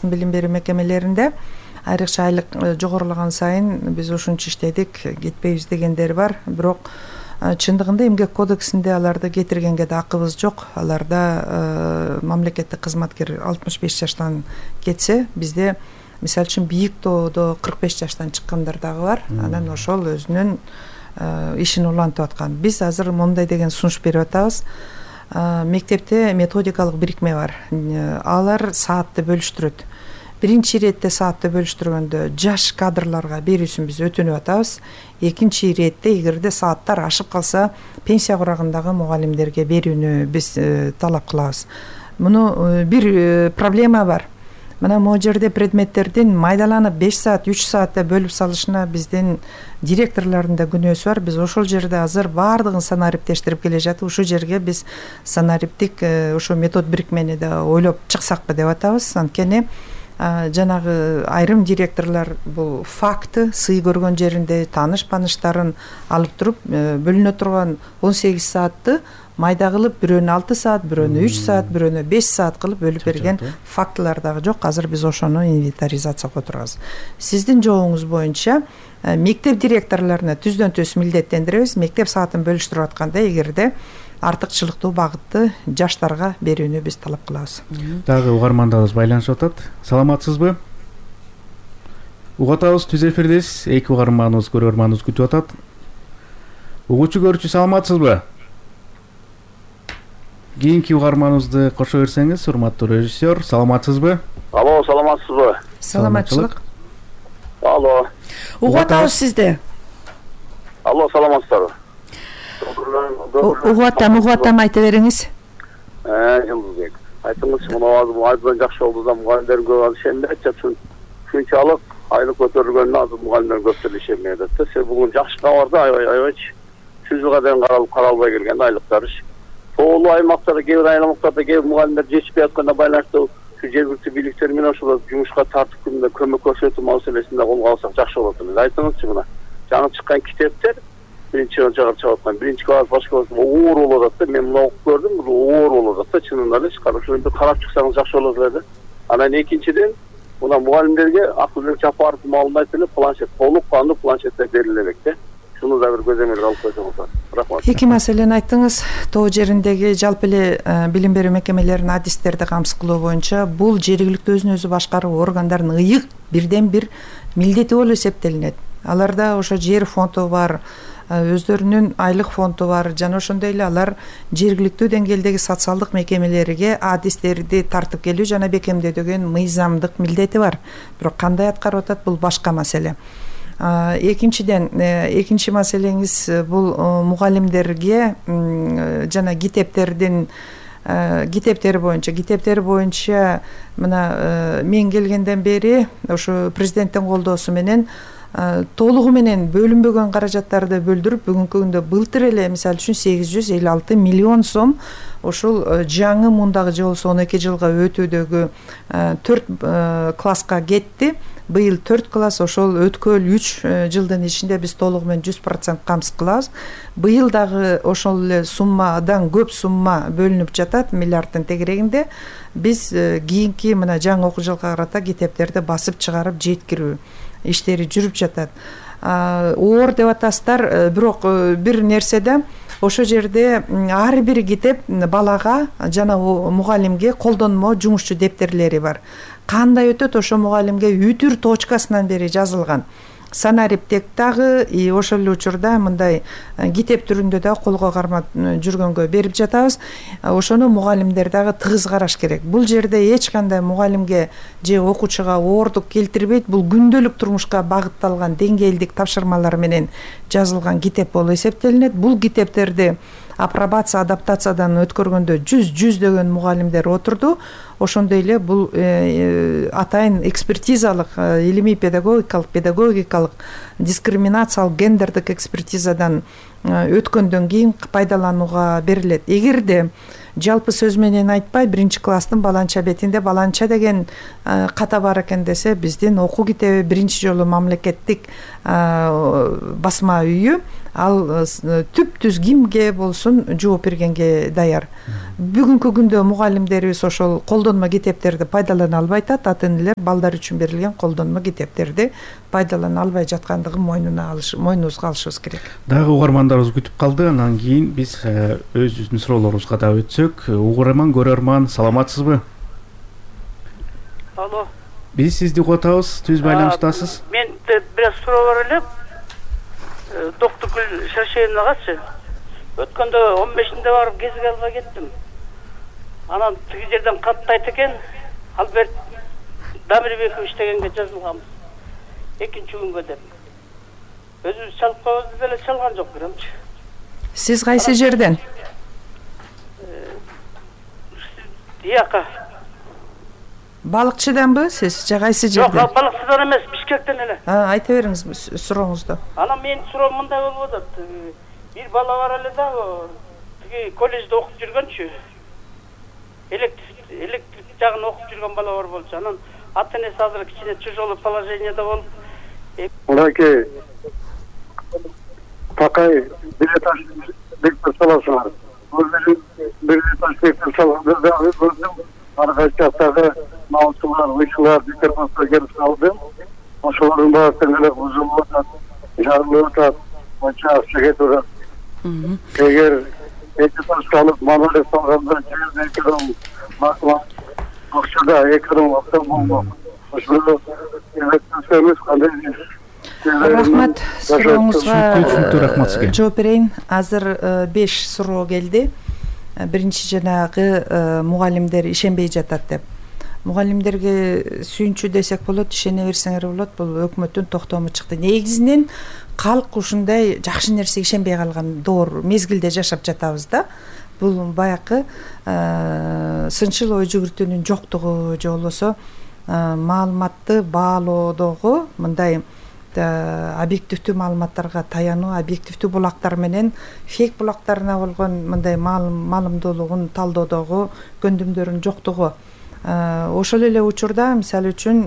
Билим берүү мекемелеринде айрыкча айлык жогорулаган сайын биз ушунча иштедик, кетпейбиз дегендер бар. Бирок чындыгында эмгек кодексинде аларды кетиргенге да акыбыз жок. Аларда мамлекеттик кызматкер 65 жаштан кетсе, бизде мисалы үчүн бийик тоодо 45 жаштан чыккандар дагы бар. Анан ошол өзүнүн ишин улантып аткан. Биз азыр мондай деген сунуш берип атабыз. Мектепте методикалык бирикме бар. Алар саатты бөлүштүрөт. Биринчи иретте саатты бөлүштүргөндө жаш кадрларга берүүсүн биз өтүнүп атабыз. Экинчи иретте эгерде сааттар ашып калса, пенсия курагындагы мугалимдерге берүүнү биз талап кылабыз. Муну бир проблема бар. Мына могу жерде предметтердин майдаланып 5 саат, 3 саатта бөлүп салышына биздин директорлордун да күнөөсү бар. Биз ошол жерде азыр баардыгын санариптештирип келе жатып, ушул жерге биз санариптик ошо метод бирикмени да ойлоп чыксакпы деп атабыз. Анткени жанагы айрым директорлор бул факты сый көргөн жеринде тааныш-пааныштарын алып туруп бөлүнө турган 18 саатты майда кылып, бирөөнү 6 саат, бирөөнү 3 саат, бирөөнү 5 саат кылып бөлүп берген фактылар дагы жок. Азыр биз ошону инвентаризацияга отурабыз. Сиздин жообуңуз боюнча мектеп директорлоруна түздөн түз милдеттендиребиз. Мектеп саатын бөлүштүрүп атканда эгерде артыкчылыктуу багытты жаштарга берүүнү биз талап кылабыз. Дагы угармандарыбыз байланышып атат. Саламатсызбы? Угатабыз, түз эфирдесиз. Эки угарманыбыз, көрөрманыбыз күтүп атат. Угуучу көрүүчү, саламатсызбы? Кийинки угарманыбызды кошо берсеңиз, урматтуу режиссер, саламатсызбы? Алло, саламатсызбы? Саламатчылык. Алло. Угатабыз сизди. Алло, саламатсыздарбы? Угатам айта бериңиз. Жылдызбек. Айтыңызчы, мына азыр айдан жакшы болду да, мугалимдер көп ишенбей атат. Шунчалык айлык көтөрүлгөнүнө азыр мугалимдер көптөр ишенбей атат. Себеби бүгүн жакшы кабар да, аябайчы. 100 жылга дейин каралбай келген айлыктар. Тоолуу аймактарда, кээ бир аймактарда кээ бир мугалимдер жетишпей атканына байланыштуу жергиликтүү бийликтер менен ошол жумушка тартып күндө көмөк көрсөтүү маселесинде колго алсак жакшы болот. Айтыңызчы, мына жаңы чыккан китептер биринчи чыгарып аткан, биринчи класс, башка класс оор болот да. Мен муну окуп көрдүм, бул оор болот да, чынында эле. Ошону карап чыксаңыз жакшы болот эле да. Анан экинчиден, мына мугалимдерге Акылбек Жапаров маалымат эле планшет, толук кандуу планшеттер бериле элек да. Шуну да бир көзөмөлгө алып койсоңуздар. Рахмат. Эки маселени айттыңыз. Тоо жериндеги жалпы эле билим берүү мекемелеринин адистерди камсыз кылуу боюнча бул жергиликтүү өзүн өзү башкаруу органдарынын ыйык бирден бир милдети болуп эсептелинет. Аларда ошо жер фонду бар, өздөрүнүн айлык фонду бар, жана ошондой эле алар жергиликтүү деңгээлдеги социалдык мекемелерге адистерди тартып келүү жана бекемдөө деген мыйзамдык милдети бар. Бирок кандай аткарып атат, бул башка маселе. Экинчиден, экинчи маселеңиз бул мугалимдерге жана китептери боюнча мына мен келгенден бери ошо президенттин колдоосу менен толугу менен бөлүнбөгөн каражаттарды бөлдүрүп бүгүнкү күндө былтыр эле мисалы үчүн 856 миллион сом ошол жаңы мундагы же болбосо 12 жылга өтүүдөгү 4 класска кетти. Быйыл 4 класс, ошол өткөл 3 жылдын ичинде биз толугу менен 100% камсыз кылабыз. Быйыл дагы ошол эле суммадан көп сумма бөлүнүп жатат, миллиарддын тегерегинде. Биз кийинки мына жаңы окуу жылга карата китептерди басып чыгарып жеткирүү иштери жүрүп жатат. Оор деп атасыздар, бирок бир нерседе ошол жерде ар бир китеп балага жана мугалимге колдонмо жумушчу дептерлери бар. Кандай өтөт, ошо мугалимге үтүр точкасынан бери жазылган. Санариптек дагы ошол эле учурда мындай китеп түрүндө да колго кармап жүргөнгө берип жатабыз. Ошону мугалимдер дагы тыгыз караш керек. Бул жерде эч кандай мугалимге же окуучуга оордук келтирбейт. Бул күндөлүк турмушка багытталган деңгээлдик тапшырмалар менен жазылган китеп болуп эсептелинет. Бул китептерди апробация, адаптациядан өткөргөндө жүздөгөн мугалимдер отурду. Ошондой эле бул атайын экспертизалык, илимий педагогикалык, дискриминациялык, гендердик экспертизадан өткөндөн кийин пайдаланууга берилет. Эгерде жалпы сөз менен айтпай биринчи класстын баланча бетинде баланча деген ката бар экен десе, биздин окуу китеби биринчи жолу мамлекеттик басма үйү ал түп-түз кимге болсун жооп бергенге даяр. Бүгүнкү күндө мугалимдерибиз ошол колдонмо китептерди пайдалана албай атат. Ата энелер балдар үчүн берилген колдонмо китептерди пайдалана албай жаткандыгын мойнубузга алышыбыз керек. Дагы угармандарыбыз күтүп калды. Анан кийин биз өзүбүздүн суроолорубузга да өтсөк. Угарман, көрөрман, саламатсызбы? Алло. Биз сизди угуп атабыз. Түз байланыштасыз. Мен бир аз суроо бар эле. Доктургүл Шаршеевнагачы. Өткөндө 15-inde барып кезиге албай кеттим. Анан тиги жерден каттайт экен. Альберт Дамирбеков иштегенге жазылганбыз. Экинчи күнгө деп. Өзүбүз чалып койбуз деле чалган жок бирамчы. Сиз кайсы жерден? Яка. Балыкчыданбы сиз? Же кайсы жерден? Жок, балыкчыдан эмес, Бишкектен эле. Айта бериңиз сурооңузду. Анан менин суроом мындай болуп атат. Бир бала бар эле да, тиги коллежде окуп жүргөнчү. Электрик жагын окуп жүргөн бала бар болчу. Анан ата энеси азыр кичине тяжелый положениеде болуп. Мынакей Такай билетаж бектеп саласыңар. Бир билетаж бектеп салган. Аркай жактагы маусулар, уйчулар, диктофонго келип калдым. Ошолордун баардыгы эле бузулуп атат, жарылып атат, мынча акча кетип атат. Эгер экипаж алып мамиле салганда жерде экиден акчада экиден акча болмок. Ошол эмес кандай Рахмат, сурооңузга рахмат сизге. жооп берейин. Азыр 5 суроо келди. Биринчи жанагы мугалимдер ишенбей жатат деп. Мугалимдерге сүйүнчү десек болот, ишене берсеңер болот. Бул өкмөттүн токтому чыкты. Негизинен калк ушундай жакшы нерсеге ишенбей калган доор мезгилде жашап жатабыз да. Бул баякы сынчыл ой жүгүртүүнүн жоктугу же болбосо маалыматты баалоодогу мындай объективдүү маалыматтарга таянуу, объективдүү булактар менен фейк булактарына болгон мындай маалымдуулугун талдоодогу көндүмдөрүнүн жоктугу. Ошол эле учурда мисалы үчүн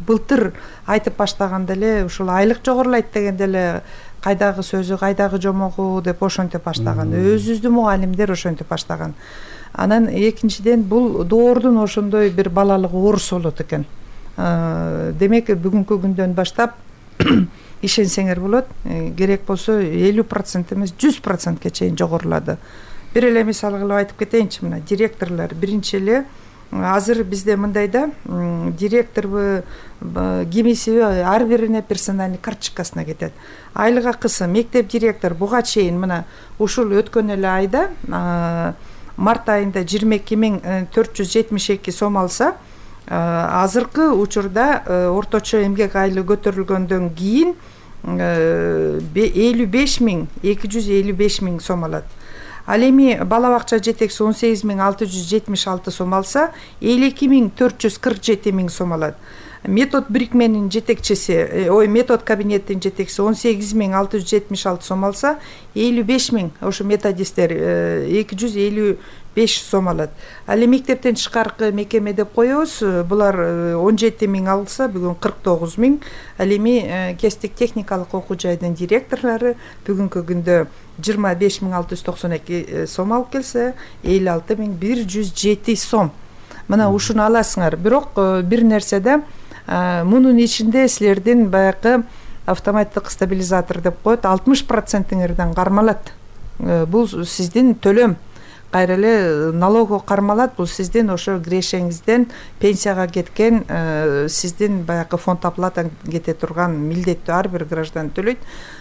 былтыр айтып баштаганда эле ушул айлык жогорулайт дегенде эле кайдагы сөзү, кайдагы жомогу деп ошентип баштаган. Өзүбүздүн мугалимдер ошентип баштаган. Анан экинчиден бул доордун ошондой бир балалыгы оорус болот экен. Демек бүгүнкү күндөн баштап ишенсеңер болот. Керек болсо 50% эмес 100%ке чейин жогорулады. Бир эле мисал кылып айтып кетейинчи, мына директорлор биринчи эле азыр бизде мындай да, директорбу, кимисиби ар бирине персональный карточкасына кетет. Айлык акысы мектеп директор буга чейин мына ушул өткөн эле айда март айында 22.472 сом алса, азыркы учурда орточо эмгек айлы көтөрүлгөндөн кийин 55.255 сом алат. Ал эми бала бакча жетекчиси 18.676 сом алса, 52.447 сом алат. Метод бирикменин жетекчиси, метод кабинеттин жетекчиси 18.676 сом алса, 55.000 ошо методисттер 255 сом алат. Ал эми мектептен тышкаркы мекеме деп коебуз. Булар 17.000 алса, бүгүн 49.000. Ал эми кесиптик техникалык окуу жайдын директорлору бүгүнкү күндө 25.692 сом алып келсе, 56.107 сом. Мына ушуну аласыңар. Бирок бир нерседе мунун ичинде силердин баягы автоматтык стабилизатор деп коет, 60%-ңерден кармалат. Бул сиздин төлөм. Кайра эле налого кармалат. Бул сиздин ошо кирешеңизден пенсияга кеткен, сиздин баягы фонд оплата кете турган милдеттүү ар бир граждан төлөйт.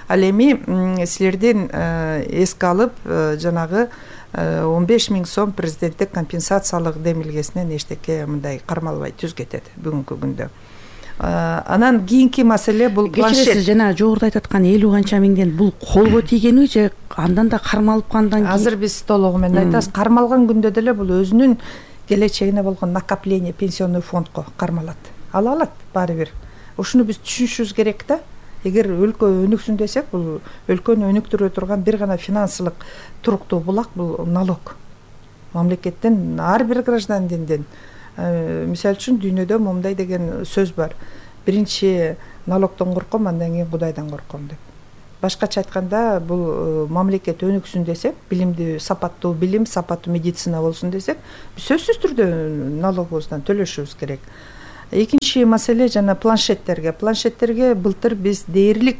Ал эми силердин эске алып жанагы 15.000 сом президенттик компенсациялык демилгесинен эчтеке мындай кармалбай түз кетет бүгүнкү күндө. Анан кийинки маселе бул планшет. Жана жогоруда айтып аткан 50 канча миңден бул колго тийгенби же андан да кармалып кандан кийин? Азыр биз толугу менен айтабыз. Кармалган күндө деле бул өзүнүн келечегине болгон накопление пенсионный фондко кармалат. Ала алат баары бир. Ушуну биз түшүнүшүбүз керек да. Эгер өлкө өнүксүн десек, бул өлкөнү өнүктүрө турган бир гана финансылык туруктуу булак бул налог. мамлекеттен, ар бир граждандинден. Мисалы үчүн дүйнөдө момундай деген сөз бар: биринчи налогдон корком, андан кийин Кудайдан корком деп. Башкача айтканда, бул мамлекет өнүксүн десек, билимди, сапаттуу билим, сапаттуу медицина болсун десек, сөзсүз түрдө налогубуздан төлөшүбүз керек. Экинчи маселе жана планшеттерге былтыр биз дээрлик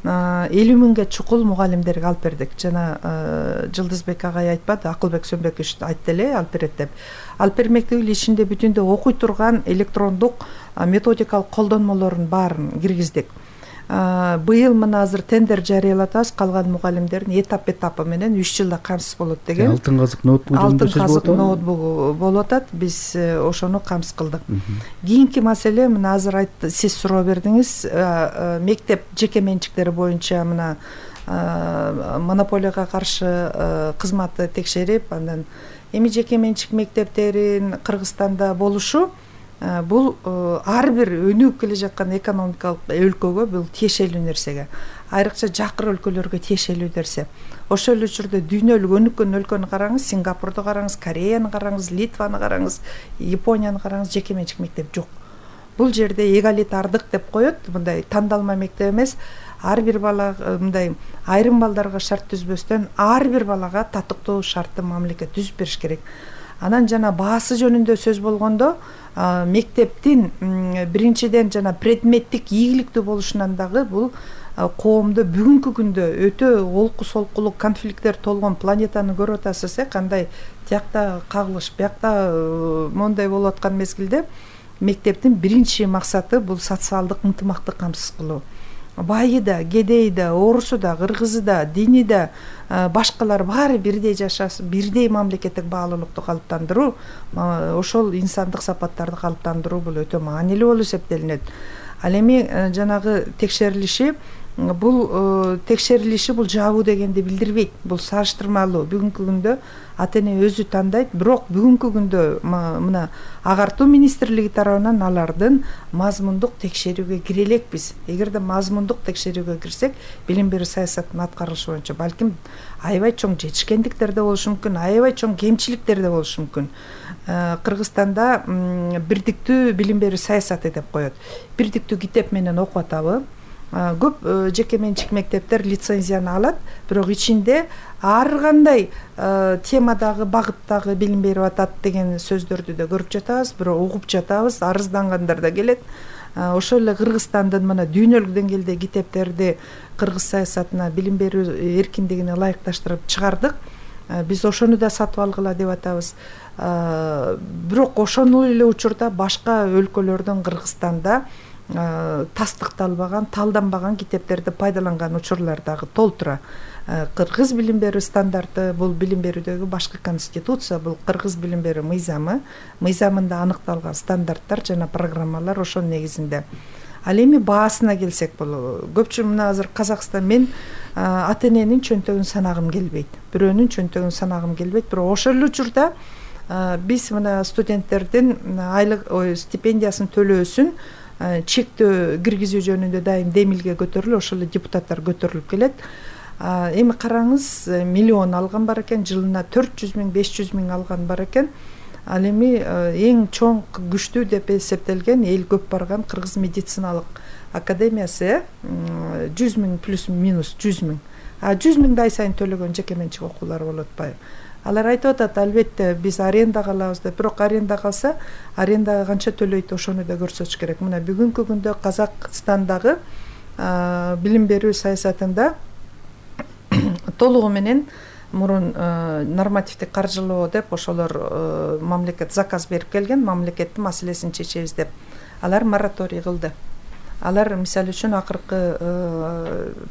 50 миңге чукул мугалимдерге алып бердик. Жана Жылдызбек агай айтпады, Акылбек Сөнбекович айтты эле алып берет деп. Алып бермек эле ичинде бүтүндө окуй турган электрондук методикалык колдонмолордун баарын киргиздик. Быйыл мына азыр тендер жарыялатабыз, калган мугалимдердин этап менен 3 жылда камсыз болот деген. Алтын казык ноутбук жөнүндө сөз болот. Алтын казык ноутбук болуп атат. Биз ошону камсыз кылдык. Кийинки маселе, мына азыр айтты, сиз суроо бердиңиз, мектеп жеке менчиктери боюнча мына монополияга каршы кызматты текшерип, андан эми жеке менчик мектептерин Кыргызстанда болушу бул ар бир өнүгүп келе жаткан экономикалык өлкөгө бул тиешелүү нерсеге, айрыкча жакыр өлкөлөргө тиешелүү нерсе. Ошол эле учурда дүйнөлүк өнүккөн өлкөнү караңыз, Сингапурду караңыз, Кореяны караңыз, Литваны караңыз, Японияны караңыз, жеке менчик мектеп жок. Бул жерде эгалитардык деп коет, мындай тандалма мектеп эмес, ар бир бала мындай айрым балдарга шарт түзбөстөн ар бир балага татыктуу шартты мамлекет түзүп бериш керек. Анан жана баасы жөнүндө сөз болгондо, мектептин биринчиден жана предметтик ийгиликтүү болушунан дагы бул коомдо бүгүнкү күндө өтө олку солкулук конфликттер толгон планетаны көрүп атасыз, кандай тиякта кагылыш, биякта мондай болуп аткан мезгилде мектептин биринчи максаты бул социалдык ынтымакты камсыз кылуу. Байы да, кедейи да, орусу да, кыргызы да, дини да, башкалар баары бирдей жашасын, бирдей мамлекеттик баалуулукту калыптандыруу, ошол инсандык сапаттарды калыптандыруу бул өтө маанилүү болуп эсептелинет. Ал эми жанагы текшерилиши бул жабуу дегенди билдирбейт. Бул сараштырмалуу. Бүгүнкү күндө ата эне өзү тандайт, бирок бүгүнкү күндө мына агартуу министрлиги тарабынан алардын мазмундук текшерүүгө кире элекпиз. Эгерде мазмундук текшерүүгө кирсек, билим берүү саясатынын аткарылышы боюнча балким аябай чоң жетишкендиктер да болушу мүмкүн, аябай чоң кемчиликтер да болушу мүмкүн. Кыргызстанда бирдиктүү билим берүү саясаты деп коет. Бирдиктүү китеп менен окуп атабы? Көп жеке менчик мектептер лицензияны алат, бирок ичинде ар кандай темадагы, багыттагы билим берип атат деген сөздөрдү да көрүп жатабыз, бирок угуп жатабыз, арыздангандар да келет. Ошол эле Кыргызстандын мына дүйнөлүк деңгээлде китептерди кыргыз саясатына, билим берүү эркиндигине ылайыкташтырып чыгардык. Биз ошону да сатып алгыла деп атабыз. Бирок ошол эле учурда башка өлкөлөрдөн Кыргызстанда тастыкталбаган, талданбаган китептерди пайдаланган учурлар дагы толтура. Кыргыз билим берүү стандарты бул билим берүүдөгү башкы конституция, бул кыргыз билим берүү мыйзамында аныкталган стандарттар жана программалар ошонун негизинде. Ал эми баасына келсек, бул көпчүлүк мына азыр Казакстан, мен ата эненин чөнтөгүн санагым келбейт. Бирөөнүн чөнтөгүн санагым келбейт, бирок ошол эле учурда биз мына студенттердин айлык стипендиясын төлөөсүн чектөө киргизүү жөнүндө дайым демилге көтөрүлүп, ошол эле депутаттар көтөрүлүп келет. Эми караңыз, миллион алган бар экен, жылына 400 миң, 500 миң алган бар экен. Ал эми эң чоң күчтүү деп эсептелген, эл көп барган Кыргыз медициналык академиясы 100 миң плюс минус 100 миң. 100 миңди ай сайын төлөгөн жеке менчик окуулар болуп атпайбы? Алар айтып атат, албетте биз арендага алабыз деп, бирок аренда калса, арендага канча төлөйт, ошону да көрсөтүш керек. Мына бүгүнкү күндө Казакстандагы билим берүү саясатында толугу менен мурун нормативдик каржылоо деп ошолор мамлекет заказ берип келген, мамлекеттин маселесин чечебиз деп. Алар мораторий кылды. Алар мисалы үчүн акыркы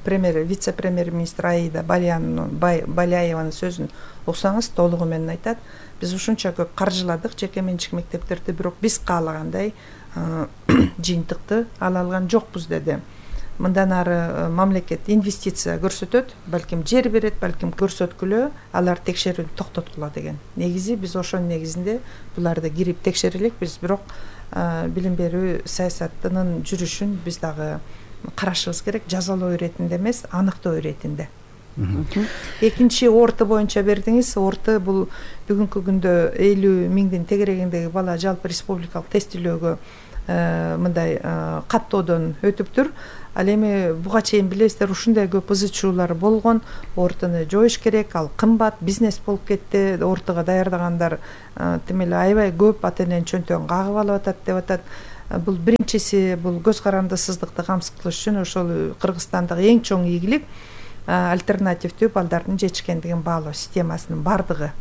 вице-премьер-министр Аида Баляеванын сөзүн окусаңыз толугу менен айтат. Биз ушунча көп каржыладык жеке менчик мектептерди, бирок биз каалагандай жыйынтыкты ала алган жокпуз деди. Мындан ары мамлекет инвестиция көрсөтөт, балким жер берет, балким көрсөткүлө алар текшерүүнү токтоткула деген. Негизи биз ошонун негизинде буларды кирип текшерелекпиз, бирок билим берүү саясатынын жүрүшүн биз дагы карашыбыз керек. Жазалоо иретинде эмес, аныктоо иретинде. Экинчи орто боюнча бердиңиз. Орто бул бүгүнкү күндө 50 миңдин тегерегиндеги бала жалпы республикалык тестилөөгө мындай каттоодон өтүптүр. Ал эми буга чейин билесиздер, ушундай көп ызы чуулар болгон. Ортону жоюш керек, ал кымбат, бизнес болуп кетти. Ортого даярдагандар тим эле аябай көп ата эненин чөнтөгүн кагып алып атат деп атат. Бул биринчиси, бул көз карандысыздыкты камсыз кылыш үчүн ошол Кыргызстандагы эң чоң ийгилик альтернативдүү балдардын жетишкендигин баалоо системасынын бардыгы.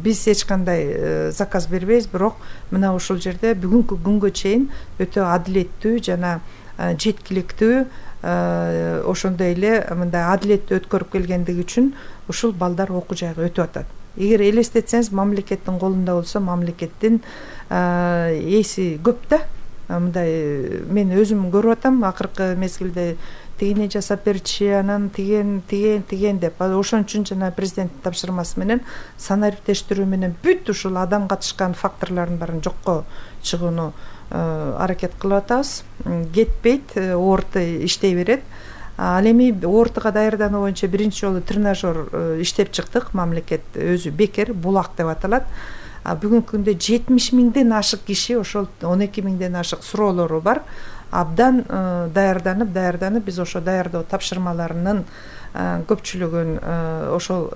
Биз эч кандай заказ бербейбиз, бирок мына ушул жерде бүгүнкү күнгө чейин өтө адилеттүү жана жеткиликтүү, ошондой эле мындай адилеттүү өткөрүп келгендиги үчүн ушул балдар окуу жайга өтүп атат. Эгер элестетсеңиз, мамлекеттин колунда болсо, мамлекеттин эси көп да. Мындай мен өзүм көрүп атам, акыркы мезгилде тигини жасап берчи, анан тиген деп. Ошон үчүн жана президенттин тапшырмасы менен санариптештирүү менен бүт ушул адам катышкан факторлордун баарын жокко чыгууну аракет кылып атабыз. Кетпейт, орто иштей берет. Ал эми ортого даярдануу боюнча биринчи жолу тренажер иштеп чыктык. Мамлекет өзү бекер, булак деп аталат. Бүгүнкү күндө 70 миңден ашык киши, ошол 12 миңден ашык суроолору бар. Абдан даярданып, биз ошо даярдоо тапшырмаларынын көпчүлүгүн ошол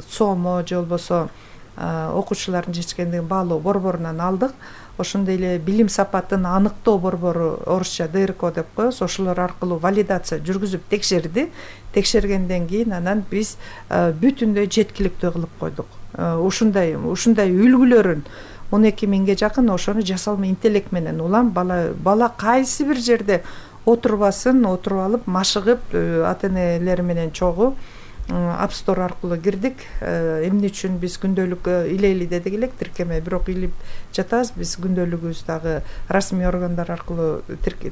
СОМО же болбосо окуучулардын жетишкендигин баалоо борборунан алдык. Ошондой эле билим сапатын аныктоо борбору, орусча ДРК деп коебуз, ошолор аркылуу валидация жүргүзүп текшерди. Текшергенден кийин анан биз бүтүндөй жеткиликтүү кылып койдук. Ушундай үлгүлөрүн 12 миңге жакын ошону жасалма интеллект менен улам бала кайсы бир жерде отурбасын, отуруп алып, машыгып, ата энелери менен чогуу App Store аркылуу кирдик. Эмне үчүн биз күндөлүк илейли дедик элек, тиркеме, бирок илип жатабыз. Биз күндөлүгүбүз дагы расмий органдар аркылуу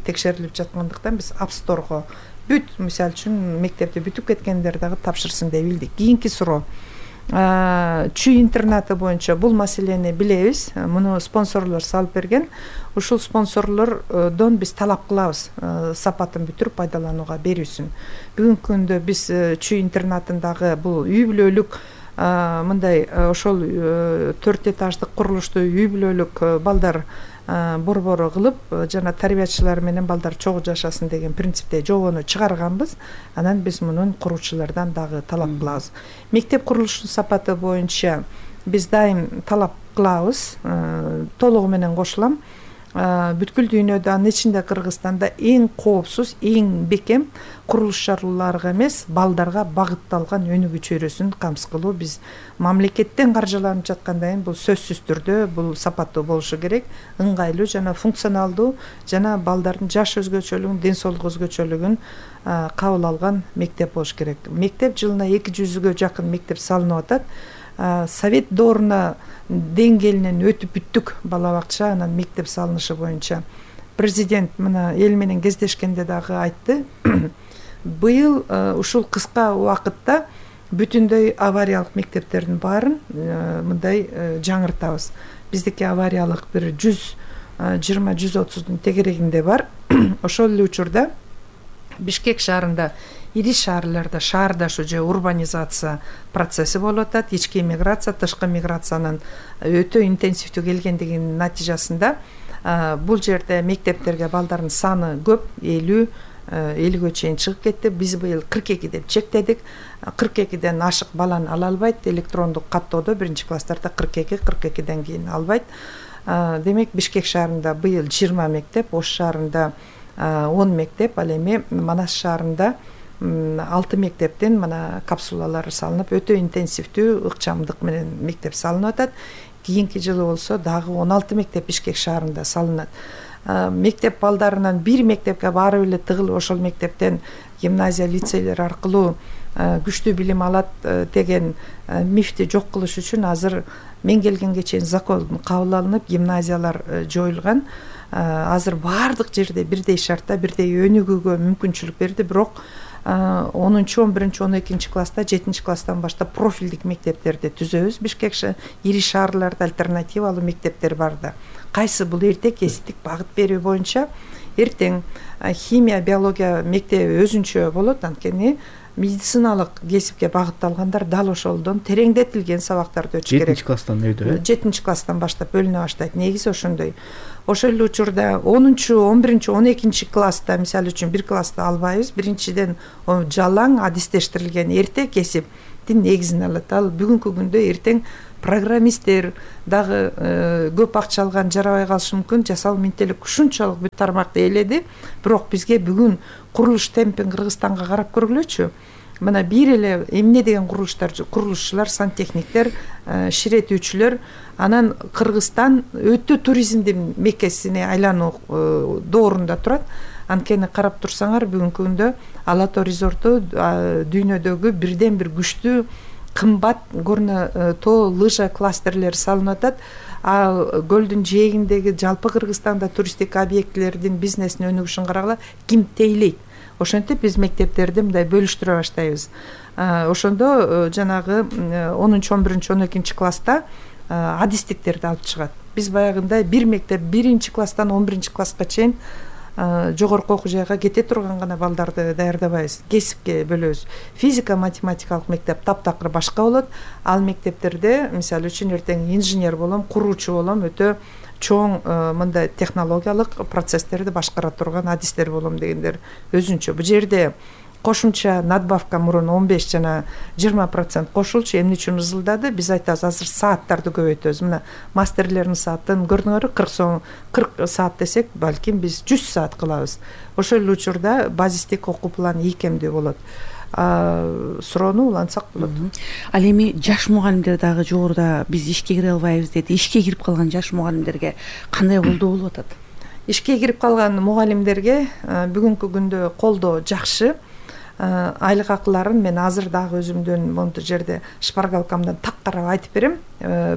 текшерилип жаткандыктан биз App Store'го мисалы үчүн мектепти бүтүп кеткендер дагы тапшырсын деп билдик. Кийинки суроо. Чүй интернаты боюнча бул маселени билебиз. Муну спонсорлор салып берген. Ушул спонсорлордон биз талап кылабыз сапатын бүтүрүп пайдаланууга берүүсүн. Бүгүнкү күндө биз чүй интернатындагы бул үй бүлөлүк мындай ошол 4 этаждык курулушту үй бүлөлүк балдар борбору кылып, жана тарбиячылар менен балдар чогуу жашасын деген принципте жобону чыгарганбыз. Анан биз мунун куруучулардан дагы талап кылабыз. Мектеп курулушунун сапаты боюнча биз дайым талап кылабыз. Толугу менен кошулам. Бүткүл дүйнөдө, анын ичинде Кыргызстанда эң коопсуз, эң бекем курулуш чараларга эмес, балдарга багытталган өнүгүү чөйрөсүн камсыз кылуу биз мамлекеттен каржыланып жаткандан кийин бул сөзсүз түрдө бул сапаттуу болушу керек, ыңгайлуу жана функционалдуу жана балдардын жаш өзгөчөлүгүн, ден соолук өзгөчөлүгүн кабыл алган мектеп болуш керек. Мектеп жылына 200-гө жакын мектеп салынып атат. Совет дооруна деңгээлинен өтүп бүттүк бала бакча, анан мектеп салынышы боюнча. Президент мына эл менен кездешкенде дагы айтты. Быйыл ушул кыска убакытта бүтүндөй авариялык мектептердин баарын мындай жаңыртабыз. Биздики авариялык бир 120-130дун тегерегинде бар. Ошол эле учурда Бишкек шаарында, ири шаарларда шаардашуу же урбанизация процесси болуп атат. Ички миграция, тышкы миграциянын өтө интенсивдүү келгендигинин натыйжасында бул жерде мектептерге балдардын саны көп, 50-ге чейин чыгып кетти. Биз быйыл 42 деп чектедик. 42ден ашык баланы ала албайт. Электрондук каттоодо биринчи класстарда 42-ден кийин албайт. Демек Бишкек шаарында быйыл 20 мектеп, Ош шаарында 10 мектеп, ал эми Манас шаарында 6 мектептен мына капсулалар салынып, өтө интенсивдүү ыкчамдык менен мектеп салынып атат. Кийинки жылы болсо дагы 16 мектеп Бишкек шаарында салынат. Мектеп балдарынан бир мектепке барып эле тыгылып, ошол мектептен гимназия, лицейлер аркылуу күчтүү билим алат деген мифти жок кылыш үчүн азыр мен келгенге чейин закон кабыл алынып, гимназиялар жоюлган. Азыр бардык жерде бирдей шартта, бирдей өнүгүүгө мүмкүнчүлүк берди, бирок 10-11, 12 класста, 7 класстан баштап профилдик мектептерди түзөбүз. Бишкек ири шаарларда альтернативалуу мектептер бар да. Кайсы бул эрте кесиптик багыт берүү боюнча эртең химия, биология мектеби өзүнчө болот, анткени медициналык кесипке багытталгандар дал ошолдон тереңдетилген сабактарды өтүш керек. 7-класстан өйдү. 7-класстан баштап бөлүнө баштайт. Негизи ошондой. Ошол эле учурда 10-чу, 11-чи, 12-чи класста мисалы үчүн бир классты албайбыз. Биринчиден жалаң адистештирилген эрте кесиптин негизин алат. Ал бүгүнкү күндө эртең программисттер дагы көп акча алган жарабай калышы мүмкүн. Жасал ментелик ушунчалык бүт тармакты ээледи. Бирок бизге бүгүн курулуш темпин Кыргызстанга карап көргүлөчү. Мына бир эле эмне деген курулушчулар, сантехниктер, ширетүүчүлөр, анан Кыргызстан өтө туризмдин меккесине айлануу доорунда турат. Анткени карап турсаңар бүгүнкү күндө Ала Тоо резорту дүйнөдөгү бирден бир күчтүү кымбат горно тоо лыжа кластерлери салынып атат. А көлдүн жээгиндеги жалпы Кыргызстанда туристтик объектилердин бизнесине өнүгүшүн карагыла, ким тейлейт? Ошентип биз мектептерди мындай бөлүштүрө баштайбыз. Ошондо жанагы 10-чу, 11-чи, 12-чи класста адистиктерди алып чыгат. Биз баягындай бир мектеп 1-чи класстан 11-чи класска чейин жогорку окуу жайга кете турган гана балдарды даярдабайбыз. Кесипке бөлөбүз. Физика, математикалык мектеп таптакыр башка болот. Ал мектептерде мисалы үчүн эртең инженер болом, куруучу болом, өтө чоң мындай технологиялык процесстерди башкара турган адистер болом дегендер өзүнчө. Бул жерде кошумча надбавка мурун 15 жана 20% кошулчу, эмне үчүн ызылдады? Биз айтабыз, азыр сааттарды көбөйтөбүз. Мына мастерлердин саатын көрдүңөрбү, 40 саат десек, балким биз 100 саат кылабыз. Ошол эле учурда базистик окуу планы ийкемдүү болот. Суроону улантсак болот. Ал эми жаш мугалимдер дагы жогоруда биз ишке кире албайбыз деди. Ишке кирип калган жаш мугалимдерге кандай колдоо болуп атат? Ишке кирип калган мугалимдерге бүгүнкү күндө колдоо жакшы. Айлык акыларын мен азыр дагы өзүмдөн монту жерде шпаргалкамдан так карап айтып берем.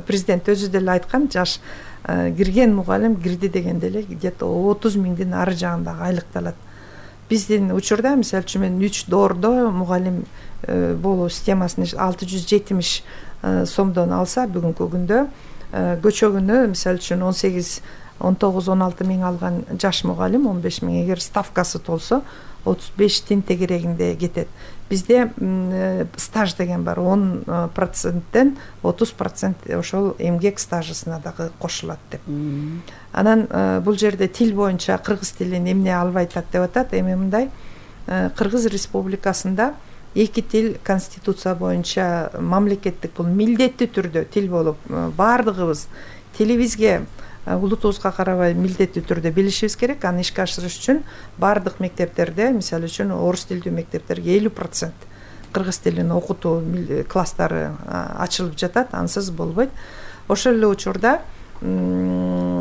Президент өзү деле айткан, жаш кирген мугалим кирди дегенде эле где-то 30 миңдин ары жагындагы айлыкты алат. Биздин учурда мисалы үчүн мен 3 доордо мугалим болуу системасын 670 сомдон алса, бүгүнкү күндө көчөгүнө мисалы үчүн 18, 19, 16 миң алган жаш мугалим 15 миң, эгер ставкасы толсо 35 тин тегерегинде кетет. Бизде стаж деген бар, 10%тен 30% ошол эмгек стажысына дагы кошулат деп. Анан бул жерде тил боюнча кыргыз тилин эмне албай атат деп атат. Эми мындай, Кыргыз Республикасында 2 тил конституция боюнча мамлекеттик, бул милдеттүү түрдө тил болуп, баардыгыбыз тилибизге улутубузга карабай милдеттүү түрдө билишибиз керек. Аны ишке ашырыш үчүн баардык мектептерде, мисалы үчүн орус тилдүү мектептерге 50% кыргыз тилин окутуу класстары ачылып жатат, ансыз болбойт. Ошол эле учурда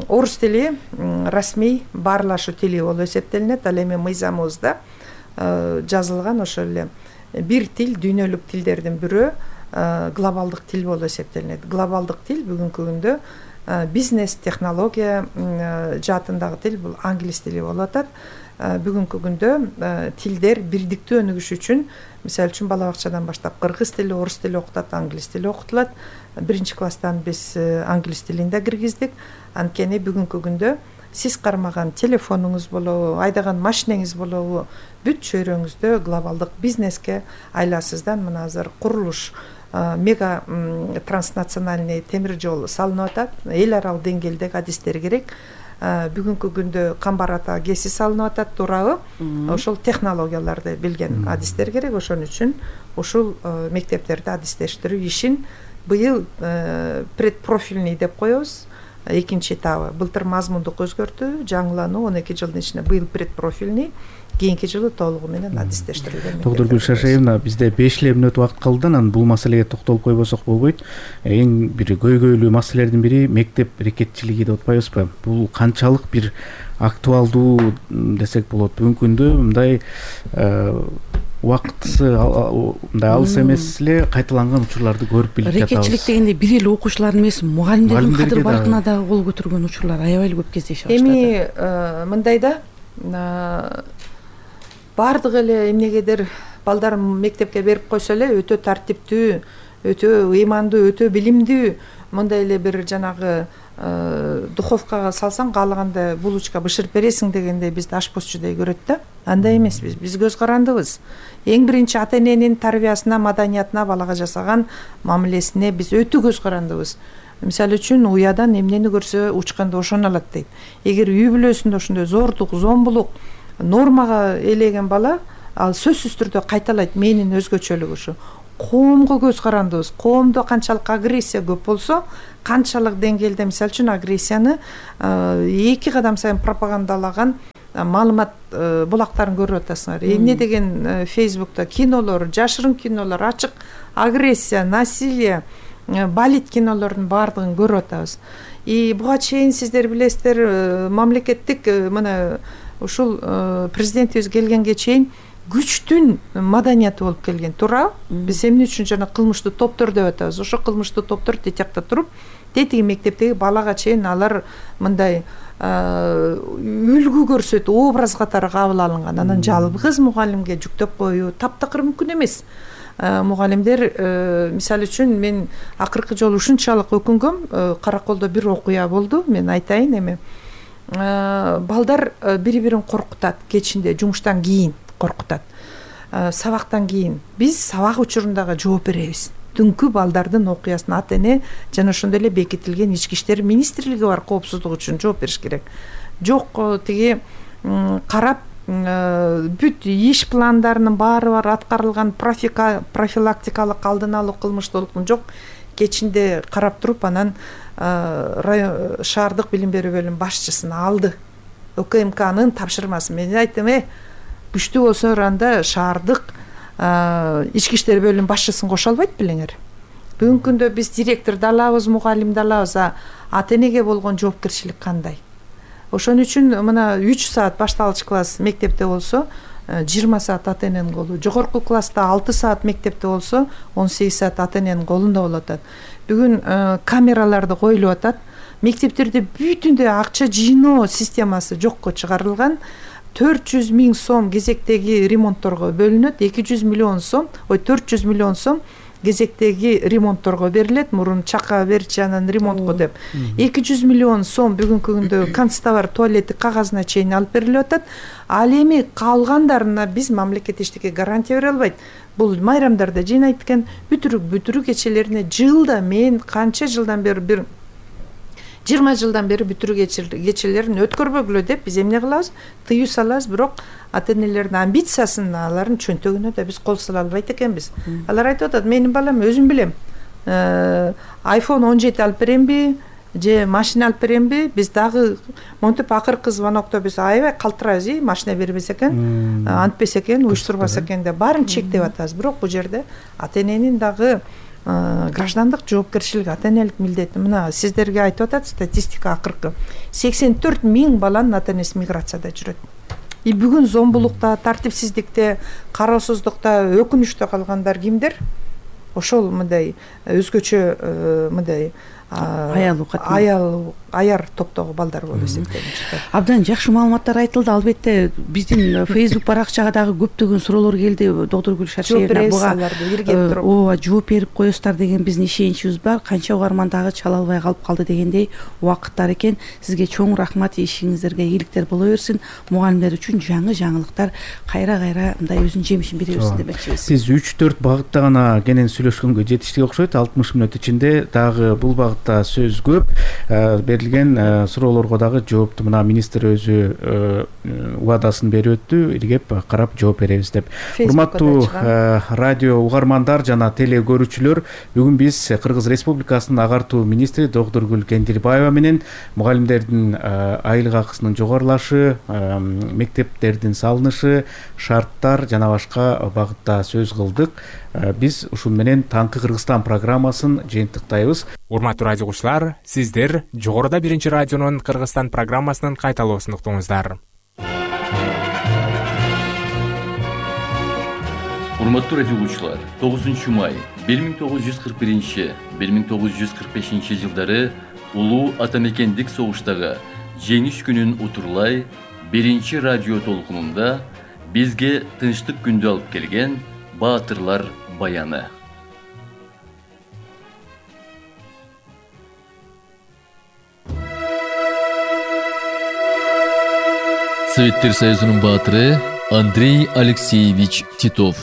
орус тили расмий баарлашуу тили болуп эсептелинет. Ал эми мыйзамыбызда жазылган ошол эле бир тил дүйнөлүк тилдердин бирөө глобалдык тил болуп эсептелинет. Глобалдык тил бүгүнкү күндө бизнес, технология жаатындагы тил бул англис тили болуп атат. Бүгүнкү күндө тилдер бирдиктүү өнүгүш үчүн, мисалы үчүн бала бакчадан баштап кыргыз тили, орус тили окутат, англис тили окутулат. 1-чи класстан биз англис тилин да киргиздик. Анткени бүгүнкү күндө сиз кармаган телефонуңуз болобу, айдаган машинеңиз болобу, бүт чөйрөңүздө глобалдык бизнеске айласыздан мына азыр курулуш мега транснациональный темир жол салынып атат. Эл аралык деңгээлдеги адистер керек. Бүгүнкү күндө Камбар ата КЭСи салынып атат, туурабы? Ошол технологияларды билген адистер керек. Ошон үчүн ушул мектептерде адистештирүү ишин быйыл предпрофильный деп коебуз. 2-чи этабы. Былтыр мазмундук өзгөртүү, жаңылануу 12 жылдын ичинде, быйыл предпрофильный, кийинки жылы толугу менен адистештирилген. Доктор Гүлшашевна, бизде 5 мүнөт убакыт калды, анан бул маселеге токтолуп койбосок болбойт. Эң бир көйгөйлүү маселелердин бири мектеп рекетчилиги деп атпайбызбы? Бул канчалык бир актуалдуу десек болот? Бүгүнкү күндө мындай убактысы мындай алыс эмес эле кайталанган учурларды көрүп билип жатабыз. Рекетчилик дегенде бир эле окуучулардын эмес, мугалимдердин кадыр баркына да кол көтөргөн учурлар аябай эле көп кездешип баштады. Эми мындай да, баардык эле эмнегедир балдар мектепке берип койсо эле өтө тартиптүү, өтө ыймандуу, өтө билимдүү, мындай эле бир жанагы духовкага салсаң каалагандай булочка бышырып бересиң дегендей бизди ашпозчудей көрөт да. Андай эмеспиз. Биз көз карандыбыз. Эң биринчи ата эненин тарбиясына, маданиятына, балага жасаган мамилесине биз өтө көз карандыбыз. Мисалы үчүн уядан эмнени көрсө учканда ошону алат дейт. Эгер үй бүлөсүндө ошондой зордук, зомбулук, нормага ээлеген бала, ал сөзсүз түрдө кайталайт. Менин өзгөчөлүгү ушу. Коомго көз карандыбыз. Коомдо канчалык агрессия көп болсо, канчалык деңгээлде мисалы үчүн агрессияны эки кадам сайын пропагандалаган маалымат булактарын көрүп атасыңар. Эмне деген Фейсбукта кинолор, жашырын кинолор, ачык агрессия, насилие, балет кинолордун баардыгын көрүп атабыз. Буга чейин сиздер билесиздер, мамлекеттик мына ушул президентибиз келгенге чейин күчтүн маданияты болуп келген, туурабы? Биз эмне үчүн жана кылмыштуу топтор деп атабыз. Ошо кылмыштуу топтор тетиякта туруп, тетиги мектептеги балага чейин алар мындай үлгү көрсөтүп, образ катары кабыл алынган. Анан жалгыз мугалимге жүктөп коюу таптакыр мүмкүн эмес. Мугалимдер, мисалы үчүн мен акыркы жолу ушунчалык өкүнгөм, Караколдо бир окуя болду, мен айтайын эми. Балдар бири-бирин коркутат, кечинде жумуштан кийин коркутат. Сабактан кийин биз сабак учурундагы жооп беребиз. Түнкү балдардын окуясын ата эне жана ошондой эле бекитилген ички иштер министрлиги бар, коопсуздук үчүн жооп бериш керек. Жок, тиги карап бүт иш пландарынын баары бар, аткарылган профилактикалык алдын алуу кылмыштуулуктун жок, кечинде карап туруп анан шаардык билим берүү бөлүмүнүн башчысын алды. УКМКнын тапшырмасы. Мен айттым, күчтүү болсо анда шаардык ички иштер бөлүмүнүн башчысын кошо албайт белеңер. Бүгүнкү күндө биз директорду алабыз, мугалимди алабыз, ата энеге болгон жоопкерчилик кандай? Ошон үчүн мына 3 саат башталгыч класс мектепте болсо 20 саат ата эненин колу, жогорку класста 6 саат мектепте болсо 18 саат ата эненин колунда болуп атат. Бүгүн камераларды коюлуп атат. Мектептерде бүтүндөй акча жыйноо системасы жокко чыгарылган. 400 000 сом кезектеги ремонтторго бөлүнөт, 400 миллион сом кезектеги ремонтторго берилет, мурун чака берчи анан ремонтко деп. 200 миллион сом бүгүнкү күндө канцтовар, туалеттик кагазына чейин алып берилип атат. Ал эми калгандарына биз мамлекет эчтеке гарантия бере албайт. Бул майрамдарда жыйнайт экен, бүтүрүү кечелерине жылда мен канча жылдан бери 20 жылдан бери бүтүрүү кечелерин өткөрбөгүлө деп биз эмне кылабыз? Тыюу салабыз, бирок ата энелердин амбициясын, алардын чөнтөгүнө да биз кол сала албайт экенбиз. Алар айтып атат, менин балам өзүм билем. iPhone 17 алып беремби, же машина алып беремби? Биз дагы монтип акыркы звонокто биз аябай калтырабыз, машина бербесе экен, антпесе экен, уюштурбаса экен деп баарын чектеп атабыз. Бирок бул жерде ата эненин дагы граждандык жоопкерчилиги, ата энелик милдети. Мына сиздерге айтып атат статистика акыркы 84 000 баланын ата энеси миграцияда жүрөт. Бүгүн зомбулукта, тартипсиздикте, кароосуздукта, өкүнүчтө калгандар кимдер? Ошол мындай өзгөчө мындай аяр топтогу балдар болуп эсептелинет. Абдан жакшы маалыматтар айтылды. Албетте биздин Facebook баракчага дагы көптөгөн суроолор келди. Доктор Гүл Шаршеевна буга ооба жооп берип коесуздар деген биздин ишеничибиз бар. Канча угарман дагы чала албай калып калды дегендей убакыттар экен. Сизге чоң рахмат, ишиңиздерге ийгиликтер боло берсин. Мугалимдер үчүн жаңы жаңылыктар кайра мындай өзүнүн жемишин бере берсин демекчибиз. Биз 3-4 багытта гана кенен сүйлөшкөнгө жетиштик окшойт. 60 мүнөт ичинде дагы бул багытта сөз көп. Берилген суроолорго дагы жоопту мына министр өзү убадасын берип өттү, иргеп карап жооп беребиз деп. Урматтуу радио угармандар жана теле көрүүчүлөр, бүгүн биз Кыргыз Республикасынын агартуу министри доктор Гүл Кендирбаева менен мугалимдердин айлык акысынын жогорулашы, мектептердин салынышы, шарттар жана башка багытта сөз кылдык. Биз ушун менен Таңкы Кыргызстан программасын жыйынтыктайбыз. Урматтуу радио угуучулар, сиздер жогоруда биринчи радионун Кыргызстан программасынын кайталоосун уктуңуздар. Урматтуу радио угуучулар, 9 май 1941-1945 жылдары улуу атамекендик согуштагы жеңиш күнүн утурлай биринчи радио толкунунда бизге тынчтык күндү алып келген баатырлар баяны. Советтер Союзунун баатыры Андрей Алексеевич Титов.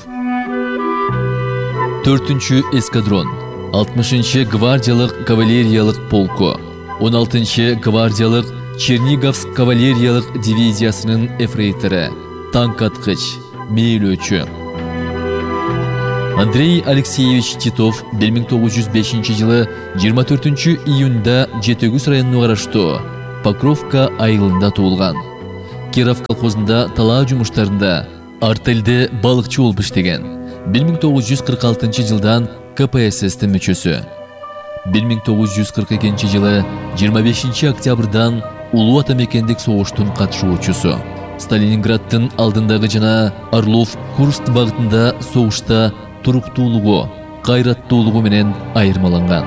4-чү эскадрон, 60-чы гвардиялык кавалериялык полку, 16-чы гвардиялык Черниговск кавалериялык дивизиясынын эфрейтору, танк аткыч, мээлөөчү. Андрей Алексеевич Титов 1905 жылы 24 июнда Жетөгүз районуна караштуу Покровка айылында туулган. Киров колхозунда талаа жумуштарында артельде балыкчы болуп иштеген. 1946 жылдан КПССтин мүчөсү. 1942 жылы 25 октябрдан Улуу ата мекендик согуштун катышуучусу. Сталининграддын алдындагы жана Орлов-Курск багытында согушта туруктуулугу, кайраттуулугу менен айырмаланган.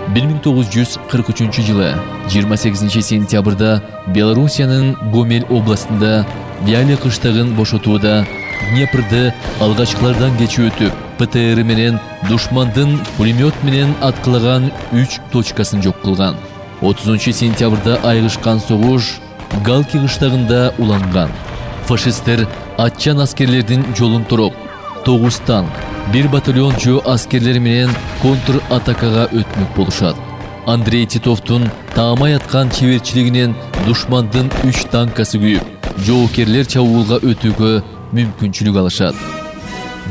1943 жылы 28 сентябрда Белоруссиянын Гомель областында Виале кыштагын бошотууда Днепрды алгачкылардан кечип өтүп, ПТР менен душмандын пулемет менен аткылаган 3 точкасын жок кылган. 30 сентябрда айгышкан согуш Галки кыштагында уланган. Фашисттер атчан аскерлердин жолун туруп, 9 танк, 1 батальончу аскерлери менен контр атакага өтмөк болушат. Андрей Титовдун таамай аткан чеберчилигинен душмандын 3 танкасы күйүп, жоокерлер чабуулга өтүүгө мүмкүнчүлүк алышат.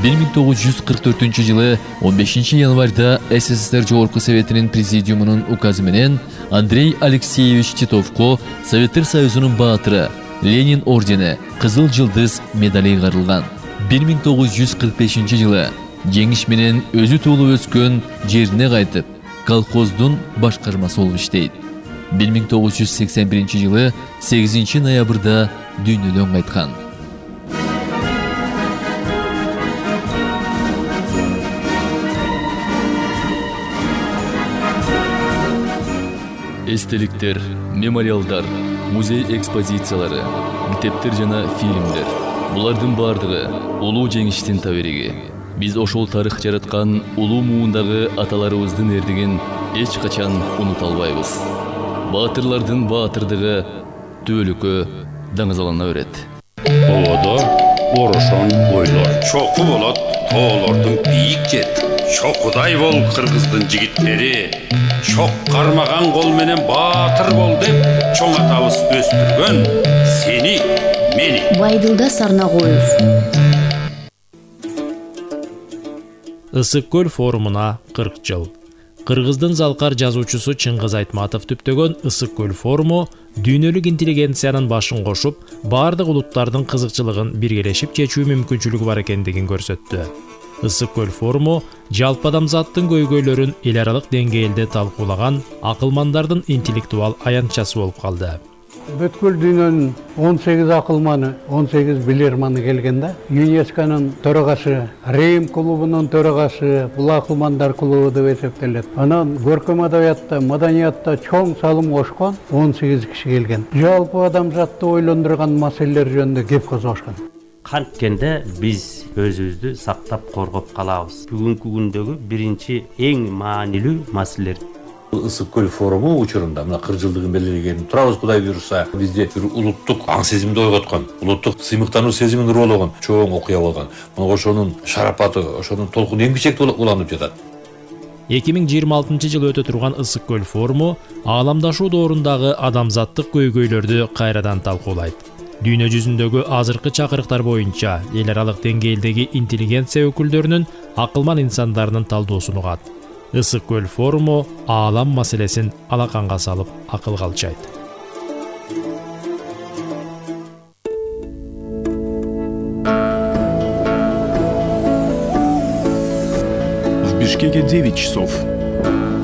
1944 жылы 15 январда СССР Жогорку Советинин президиумунун указы менен Андрей Алексеевич Титовко Советтер Союзунун баатыры, Ленин ордени, Кызыл жылдыз медали ыйгарылган. 1945 жылы жеңиш менен өзү туулуп өскөн жерине кайтып, колхоздун башкармасы болуп иштейт. 1981 жылы 8 ноябрда дүйнөдөн кайткан. Эстеликтер, мемориалдар, музей экспозициялары, китептер жана фильмдер. Булардын бардыгы улуу жеңиштин табириги. Биз ошол тарых жараткан улуу муундагы аталарыбыздын эрдигин эч качан унута албайбыз. Баатырлардын баатырдыгы түбөлүккө даңазалана берет. Оодо орошон ойлор чоку болот, тоолордун бийик жери. Чокудай бол кыргыздын жигиттери, чок кармаган кол менен баатыр бол деп чоң атабыз өстүргөн сени, мени. Байдылда сарна коюз. Ысык көл форумуна 40 жыл. Кыргыздын залкар жазуучусу Чыңгыз Айтматов түптөгөн Ысык көл форуму дүйнөлүк интеллигенциянын башын кошуп, бардык улуттардын кызыкчылыгын биргелешип чечүү мүмкүнчүлүгү бар экендигин көрсөттү. Ысык көл форуму жалпы адамзаттын көйгөйлөрүн эл аралык деңгээлде талкуулаган акылмандардын интеллектуал аянтчасы болуп калды. Бүткүл дүйнөнүн 18 акылманы, 18 билерманы келген да. ЮНЕСКОнун төрагасы, Рим клубунун төрагасы, бул акылмандар клубу деп эсептелет. Анан көркөм адабиятта, маданиятта чоң салым кошкон 18 киши келген. Жалпы адамзатты ойлондурган маселелер жөнүндө кеп козгошкон. Канткенде биз өзүбүздү сактап коргоп калабыз. Бүгүнкү күндөгү биринчи эң маанилүү маселелер. Ысык көл форуму учурунда мына 40 жылдыгын белгилеген турабыз, Кудай буйруса. Бизде бир улуттук аң сезимди ойготкон, улуттук сыймыктануу сезимин уруулаган чоң окуя болгон. Мына ошонун шарапаты, ошонун толкуну эң бичекте уланып жатат. 2026 жылы өтө турган Ысык көл форуму ааламдашуу доорундагы адамзаттык көйгөйлөрдү кайрадан талкуулайт. Дүйнө жүзүндөгү азыркы чакырыктар боюнча эл аралык деңгээлдеги интеллигенция өкүлдөрүнүн акылман инсандарынын талдоосун угат. Ысык көл форуму аалам маселесин алаканга салып акылга алчайт. В Бишкеке 9 часов.